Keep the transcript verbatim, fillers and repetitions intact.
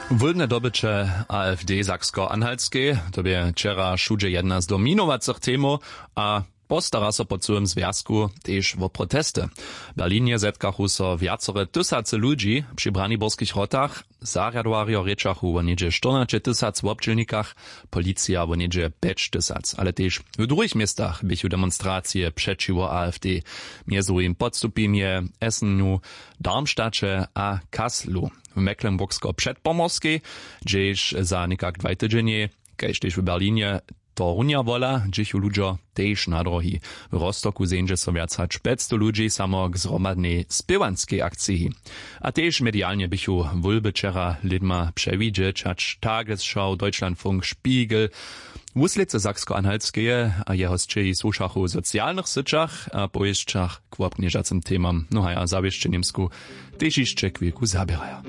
Wólbne dobyće afd saksko-anhaltskej, to bě wčera wšudźe jedna z dominowacych temow, a postara so po cyłym zwjazku tež wo protesty. W berlinje zetkachu so wjacore tysacy ludźi. Při braniborskich wrotach zarjadowarjo rěčachu wo něhdźe štyrnaće tysac wobdźělnikach, policija wo něhdźe pjeć tysac, ale tež w druhich městach běchu demonstracije přećiwo afd, mjez druhim w podstupimje, essenu, darmstadće a kaslu. W mecklenburgsko-předpomorskej, hdźež za někak dwaj tydźenjej, kaž tež w berlinje, to runja wola, dźěchu ludźo tež na drohi. W rostoku zeńdźe so wjac hač pjećstow ludźi samo k zhromadnej spěwanskej akciji. A tež medialnje běchu wólby wčera lědma přewidźeć, hač tagesschau, deutschlandfunk, spiegel. Wuslědcy saksko-anhaltskeje a jeho sćehi słušachu w socialnych syćach a powěsćach k wobknježacym temam, no haj, a zawěsće němsku tež hišće chwilku zaběraja.